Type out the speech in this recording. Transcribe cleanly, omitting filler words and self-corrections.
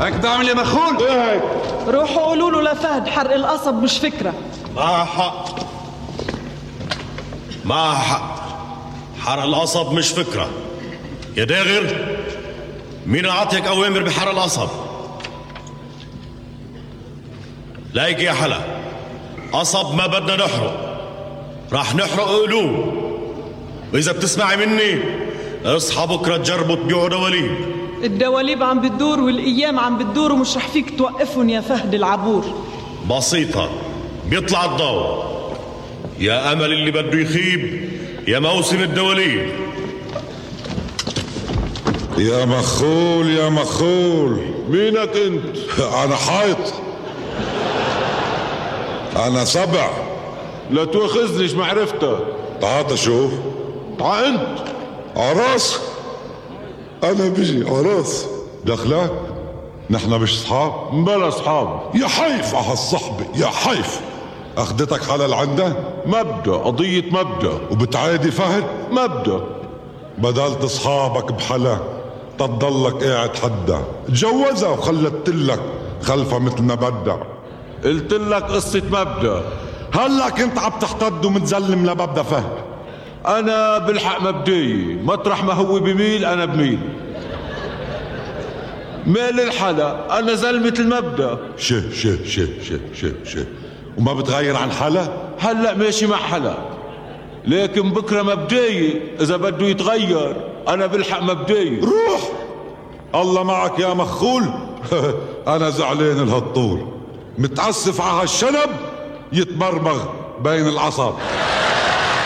هيك تعمل يا مخول؟ ايه هيك؟ روحوا قولوا له لفهد حرق القصب مش فكرة. معها حق، معها حق. حرق القصب مش فكرة. يا داغر، مين عطيك أوامر بحرق القصب؟ لايك يا حلا، قصب ما بدنا نحرق، راح نحرق قلوب. وإذا بتسمعي مني اصحى بكرة تجربوا تبيعوا دواليب. الدواليب عم بتدور والأيام عم بتدور ومش رح فيك توقفهم يا فهد العبور. بسيطة، بيطلع الضوء. يا أمل اللي بده يخيب، يا موسم الدواليب. يا مخول يا مخول، مينك انت؟ انا حايط، انا سبع. لا تواخذنيش معرفتك. تعال شوف. تعا انت. عراس، انا بجي عراس. دخلك نحن مش صحاب؟ بلا اصحاب. يا حيف على هالصحبة، يا حيف. اخدتك حلال عندها؟ مبدأ، قضية مبدأ. وبتعادي فهد؟ مبدأ. بدلت اصحابك بحلا تضلك قاعد حدا. تجوزها وخلتلك خلفها مثل ما بدها. قلت لك قصة مبدأ. هلا كنت عم تحتد ومتزلم لمبدا فهد. انا بالحق مبدئي، مطرح ما هو بميل انا بميل. مال الحلا، انا زلمة المبدأ. شه وما بتغير عن حلا؟ هلا ماشي مع حلا، لكن بكره مبدئي اذا بده يتغير. انا بالحق مبدئي. روح الله معك يا مخول. انا زعلان لهالطول، متأسف على هالشنب يتمرمغ بين العصب.